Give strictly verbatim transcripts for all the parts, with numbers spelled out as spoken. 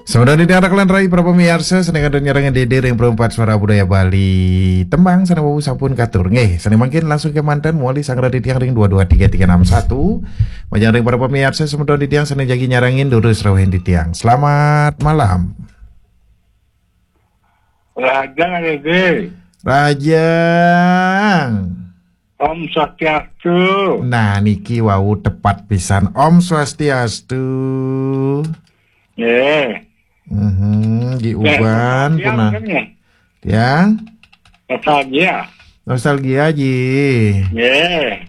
Sampun dadi anak lan rai para pamiarsa, sané kantun nyarengin Dédé ring Perempat Suara Budaya Bali. Tembang sané wau sampun katur. Nggih, sané mangkin langsung kémanten mawali sanggra titiang ring dua dua tiga tiga enam satu. Majeng ring para pamiarsa, sampun titiang sané jagi nyarengin durus rauhin titiang. Selamat malam. Rahajeng, Dédé. Rahajeng. Om Swastiastu. Nah, niki wau tepat pisan. Om Swastiastu. Nggih. Mhm, Nggih, diuban tiang punah. Kan, nggih. Tiang? Nostalgia. Nostalgia, Ji. Nggih.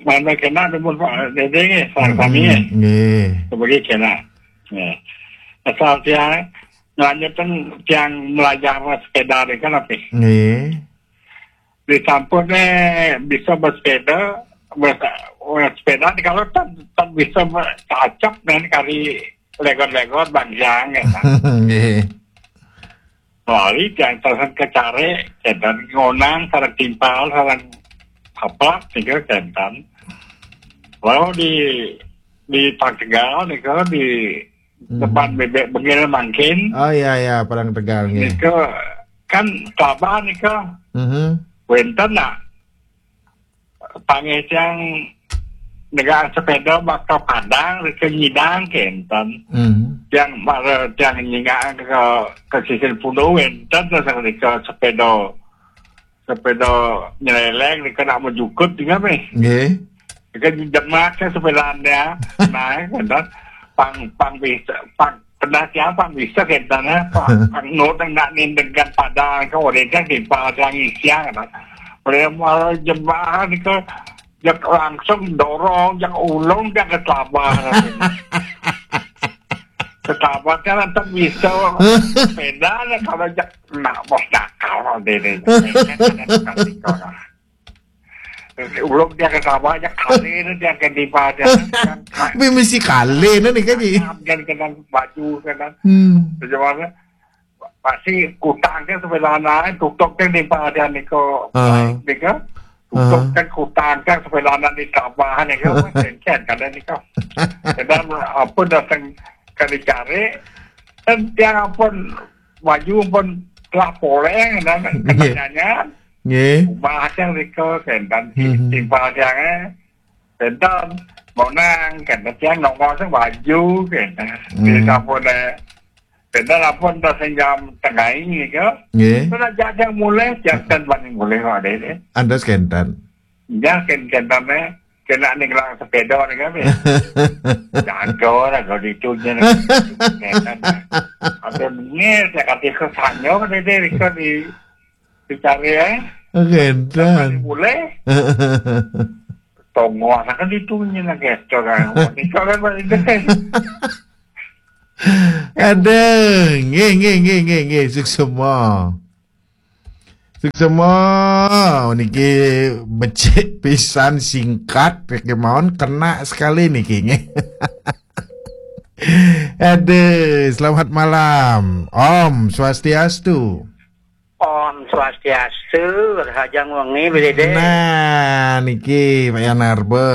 Mana kena demun Pak Dédé nggih, sami-sami nggih. Hmm, nggih. Sebagai kena. Nggih. Asal tiang lanjutkan tiang belajar sepeda ni kan apa? Nggih. Disampun eh bisa bersepeda, bers-, bersepeda ni kalau tak, tak bisa ber-, cocok dengan kari legor-legor bangjang ya kan. Nggih. Lali tiang sareng kecare, kénten ngonang sareng timpal, sareng apa, nika kénten. Lalu di, di Parang Tegal nika di Hmm. depan bebek bengil mangkin. Oh iya, iya, Parang Tegal nggih. Nika kan Kelabah nika. Mhm. Wénten nak panggih tiang negang sepeda baka Padang, rika nyidang kénten. Hmm. Tiang mara tiang nyingak ke, ke sisir pulo wénten terus rika sepeda, sepeda nyeleleng, rika nak mejukut juga meh. Nggih. Rika jemak ke sepedanya, naik kénten. Pang, pang bisa, pang Pernah tiang pang bisa kénten, eh, pang, pang nut nang nak nindegan Padang ke, orang kan di Padang isiang, kan. Boleh malah jemaah ni ke, jak langsung dorong, jak ulung, jak ke Kelabah, kan. Ke Kelabah kan tak bisa sepeda lah, kalau jak nak bos nakal, deh, deh. Ulung tiang ke Sabah, tiang ke Kalé, tiang ke Dipah, tiang ke Mesti Kalé ni kan, Ji? Tiang ke baju, kan. Hmm. Bagaimana? Pasti kutang ke sebelah lain, tutup ke Dipah, tiang ni ko. Ah. Ni ko. Tutup Ah. ke kutang ke sebelah lain di Sabah ni ko. Kan, kan, kan, ni ko. Kadang apa datang ke dicari, dan tiang pun baju pun telah poleng, dan Nggih. Kenanya. Nggih. Ubah tiang rika, kénten ti-, Hmm. timpal tiang, eh. Kénten, mau nang, kénten tiang nongol sing baju, kénten. Hmm. Di sampun, eh, kénten ampun dah sing jam tengah ini ke. Nggih. Tu nak jak tiang mulih, tiang kan bani mulih, wah, deh, deh. Andos kénten. Ya, kén-, kénten, eh. Kena ni gelang sepeda ni kan, eh. Jago lah kalau itu je ni. Kénten, eh. Ada mengil, saya kata ke sanyo, deh, deh, rika di Dicari, eh. Kénten. Boleh. Tonggo anak kan ditunyi nak gestor kan. Nika kan balik deh. Aduh, nggih, nggih, nggih, nggih, nggih, suksema. Suksema, niki becik pisan, singkat, kemawon kena sekali niki, nggih. Aduh, selamat malam. Om Swastiastu. Om Swastiastu, rahajeng wengi, Bli Dédé. Nah, niki Pak Yanarba.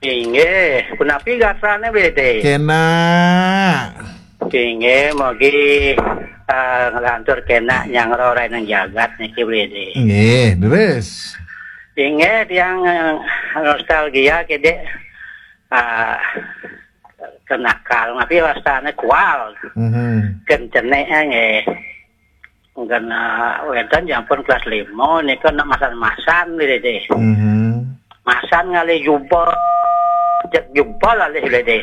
Inggih, punapi gatrane, Bli Dédé? Kena. Inggih, mugi, eh, nglantur kena nyanggra ring jagat niki, Bli Dédé. Nggih, terus. Inggih, tiang, eh, nostalgia kedek, eh, kenakal, tapi wastane kual. Mhm. Kencene, eh, nggih. Mungkin, eh, wénten ya ampun kelas lima nika nak masan-masan, Bli Dédé. Mhm. Masan ngalih jubel, jek jubel alih, Bli Dédé.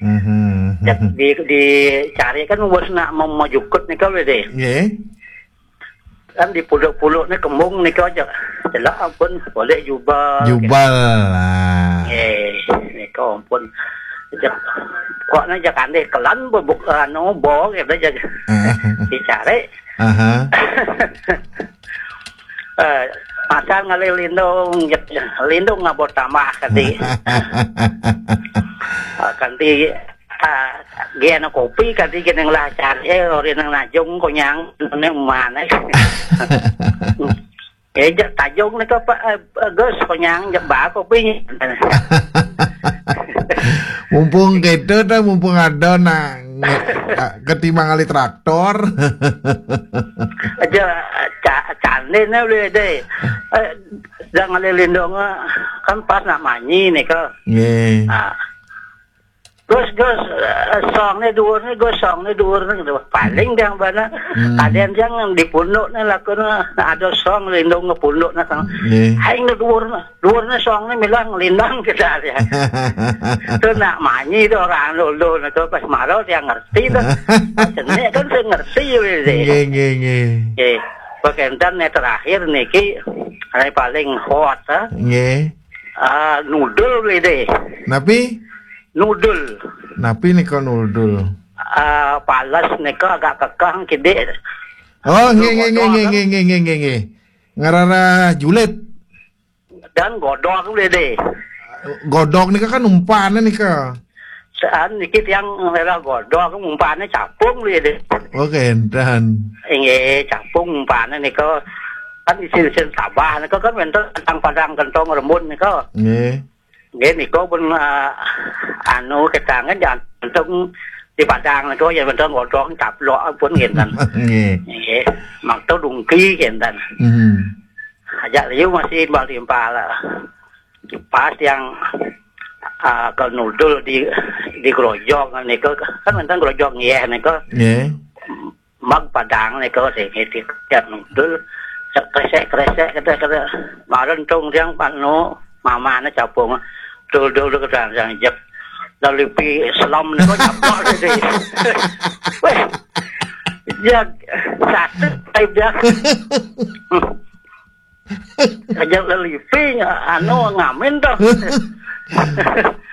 Mhm. Jek di, dicari kan wis nak mem-, mejukut nika, Bli Dédé. Nggih. Kan di puluk-puluk ni kembung nika aja. Celak ampun boleh jubel. Jubel, ah. Nggih, nika ampun. Jek, kok nak jak andih kelan bebuk, anu, bo, gitu aja. Ah. Dicari. Aha. Eh, masan ngalih lindung, jek, lindung ngabot tambah kanti. Ah, kanti, ah, gen kopi kanti gen yang lah cari, eh, ori nang najung konyang, ne mana? Eh, jak tajung ni ke apa, eh, Gus, konyang, jak ba kopi. Mumpung kita dah, mumpung ada nak nge- ah, ketimbang kali traktor. Aja ca- candene boleh deh. Eh, sedang ada lindung, eh, kan pas nak manyi nih ke. Nggih. Ah. Gus, Gus, eh, song nih dhuwur nih, Gus, song nih dhuwur nih, gitu. Paling yang bana Hmm. kadang yang di punduk nih laku nih, ada song lindung ke punduk nih kan. Nggih. Hai nih dhuwur nih, dhuwur nih song nih milah ngelindang kita ya. Tuh nak manyi tuh orang dulu nih tuh pas maro dia ngerti tuh. Pas cenik kan saya ngerti gitu. Nggih, nggih, nggih. Oke, pakentan nih terakhir niki, ini paling hot, ah. Nggih. Ah, nudul gitu. Napi? Nudul. Napi nika nudul? Ah, pales nika agak kekeh kidik. Oh, nggih, nggih, nggih, Godog, nggih, kan? Nggih, nggih, nggih, nggih. Ngarara julid. Dan godog gitu deh. Godog nika kan umpane nika. Saan niki tiang ngarara godog umpane capung gitu deh. Oh, kenten. Inggih, capung umpane nika kan isin-isin tabah nika kan wenten padang-padang gentong rembun nika. Nggih. Nggih nika pun, eh, anu ketangan jantung di padang nika ya wenten godog caplok pun kenten. Nggih. Nggih, makto dungki kenten. Hmm. Aja liu masih timpal-timpal. Pas yang, ah, ke nudul di di grojog nika kan wenten grojog nggih nika. Nggih. Mag padang nika sing di tiap nudul kresek-kresek kata-kata maren tung tiang panu mamane capung dul-dul ke dalam jep. Lalu pi selam nika caplok deh. Weh. Ya satu type dia. Aja lelipi anu ngamin tuh.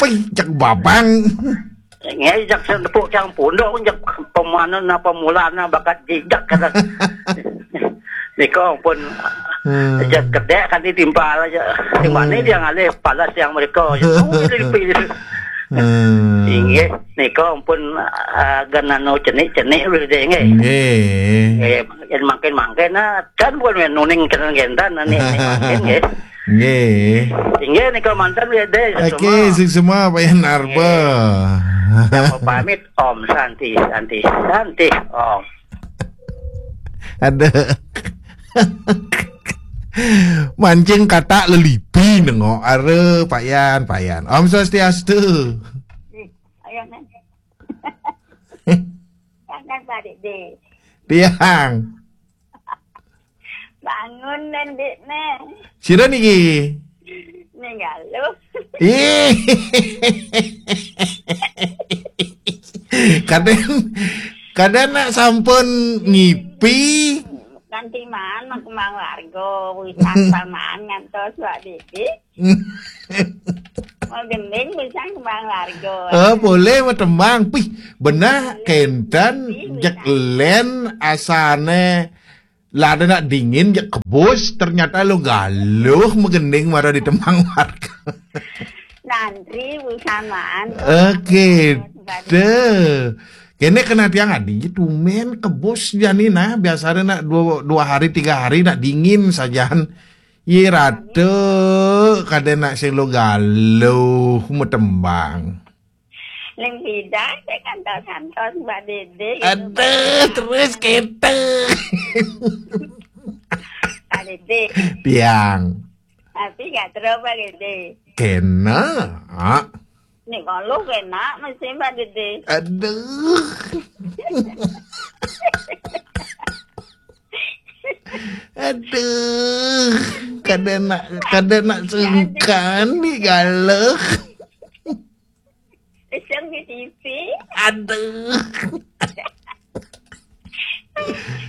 Pih, cek babang. Ngejak sing tepuk tiang punduk, ngejak pemanen apa mulana bakat jejak kata. Nika pun Hmm. ngejak kedek kan ditimpal aja. Di mana Hmm. dia ngalih palas yang mereka. Oh, lelipi. Hmm. Inggih, nika pun, ah, ganano cenik-cenik boleh deh nggih. Nggih. Eh, yang makin-makin nah, dan pun nuning kena gendan nih makin nggih. Nggih. Inggih nika mantan ya deh. Oke, sing semua Pak Yan Arba. Pamit Om Santi, Santi, Santi Om. Ada. Mancing katak lelipi nengok. Are, Pak Yan, Pak Yan. Om Swastiastu. Ayo, Nen. Tangan balik deh. Tiang. Bangun, Nen, Dik, Nen. Sira niki. Ninggal lu. Ih. Kadang, kadang nak sampun ngipi. Nanti man, mak kembang warga, wisan paman ngantos wak didi. Mau gending wisan kembang warga. Oh, boleh matembang. Pih, benah kenten jek len asane lada nak dingin jek kebus, ternyata lo galuh megending mara di tembang warga. Nanti wisan man. Oke, deh. Kene kena tiang adi tumen kebus jani nah, biasanya nak dua, dua hari tiga hari nak dingin sajan. Ye rata kada nak sing lo galuh matembang. Ling hidan saya kantos-kantos Mbak Dede. Aduh, terus kita. Mbak Dede. Tiang. Tapi gak terus Mbak Dede. Kena. Nih kalau kena mesti Mbak Dede. Aduh. Aduh. Kada nak, kada nak sungkan ni galuh. Iseng di T V. Aduh.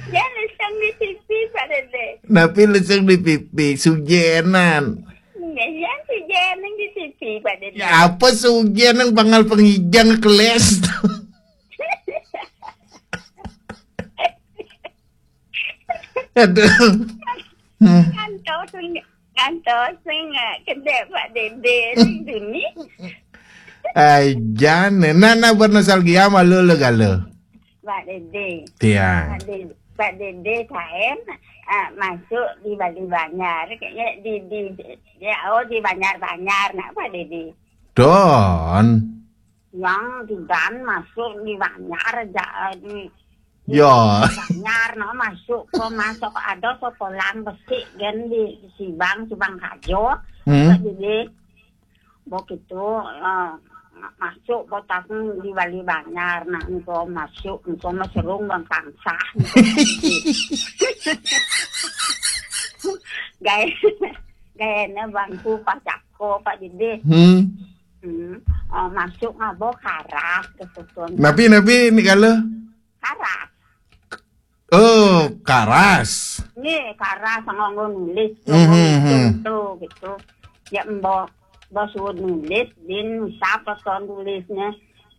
Ya iseng di T V Mbak Dede. Napi lesung di pipi sujenan. Ya ya si jeneng di T V Mbak Dede. Ya apa sujenan bangal pengijang keles. Aduh. Hmm. Kantos kantos sing kedek Mbak Dede sing duni. Ai jane nana bernostalgia malu lo galo. Mbak Dede. Tiang. Mbak Dede, Mbak Dede kaen ah, masuk di Bali Banjar kayaknya di di ya oh di Banjar Banjar nak Mbak Dede. Don. Yang di dan masuk di Banjar aja, di, di Ya. Banjar, no, masuk ke, masuk ada sekolah besik kan di Sibang, Sibang Kajo. Hmm. Jadi, begitu, eh, masuk botak di Bali Banjar, nah, engko masuk, engko maserung Bang Kangsah. Gaya, gayanya bangku Pak Cako, Pak Dede. Hmm. Hmm. Oh, masuk ngabo karas ke susun. Napi, napi, ni kala? Karas. Oh, karas. Ni karas nganggo nulis, Mhm, nganggo ngitung mhm. Tu, gitu. Ya, mbok, mbok suruh nulis, bin usap pason tulisnya.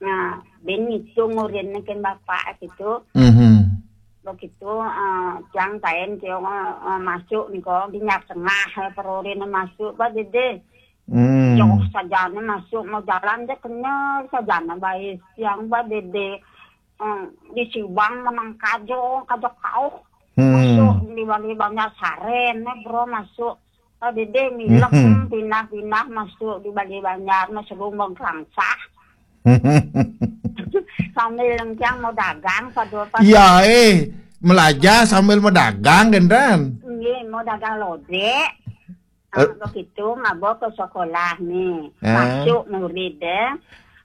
Nah, bin ngitung urinnya kan bapak gitu. Mhm. Begitu, eh, tiang kain tiang, eh, masuk niko, di nyat tengah, eh, perorine masuk, Pak Dede. Hmm. Jauh sajane masuk, mau jalan je kenyal, sajane bae tiang, Pak Dede. Eh, di Sibang menang kajo, kajo kauh. Hmm. Masuk di Bali Banjar saren, eh, bro, masuk. Pak Dede milek, Mhm. hmm, pindah-pindah masuk di Bali Banjar, masuk Lumbung Kangsah. Sambil lengkiang mau dagang, pada, pada. Ya, eh, melajah sambil mau dagang, kan, Ran? Nggih, mau dagang lodek. Eh. Ah, begitu, ngabo ke sekolah nih. Eh. Masuk murid, eh.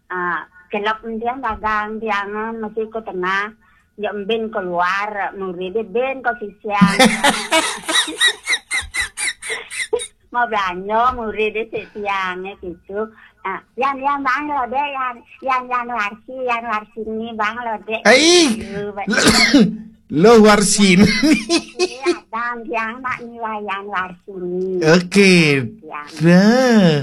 Ah, kelok tiang dagang, tiang masih ke tengah. Ya, mbin keluar, murid, ben ke sisian. Mau belanja, murid, si tiangnya gitu. Ah, yang, yang bang lodek, yang, yang, yang warsi, yang warsi ini bang lodek. Ai. Gitu, Pak. Lo warsin. Iya, dan yang mak nilai yang warsi ini. Oke. Yang Dah.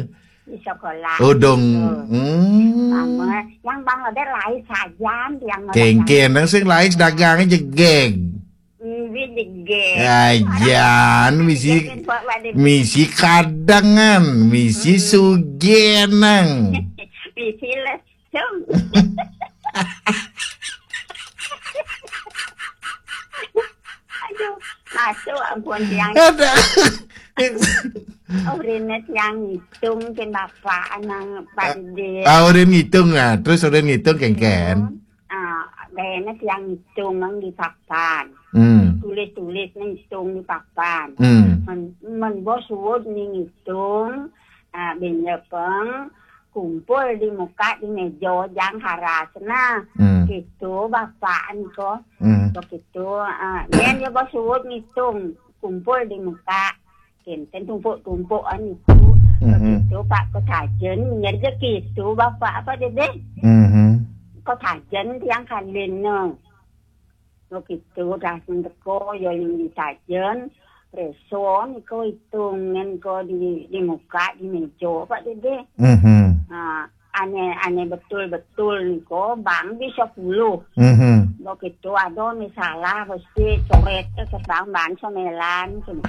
Di sekolah. Oh, dong. Gitu. Hmm. Mama, yang bang lodek lain saja, yang lodek. Kengken, nang sing lain dagang jegeg. Nggih, jegeg. Ajan, misi, Jegeg, Pak, Pak Dede. Misi kadangan, misi Hmm. sugenang. Misi lesung. Aduh, masuk ampun tiang. Ada. Oh, rene tiang ngitung ke bapak nang Pak Dede. Ah, udah ngitung, ah. Terus udah ngitung, Kengken. Ah, rene tiang ngitung nang di papan. Hmm. Tulis-tulis nang ngitung di papan. Hmm. Men, men bos suwud ni ngitung, ah, ben lepeng, kumpul di muka di meja jang haras. Nah, Hmm. gitu bapak niko. Hmm. Begitu, ah, yen ya bos suwud ngitung, kumpul di muka. Kenten tumpuk-tumpukan itu. Mhm. Begitu, Pak, ketajen, nyer je gitu, Bapak, apa, Dede? Mhm. Ketajen tiang kalin, no. Begitu, dah sing teko, ya, yang ditajen, preson, iko hitungan, ko di, di muka, di meja, Pak, Dede. Mhm. Nah, ane, ane betul-betul niko, bang bisa puluh. Mhm. Begitu, ada ni salah, mesti coret, eh, ke bang, bang, semelan, gitu.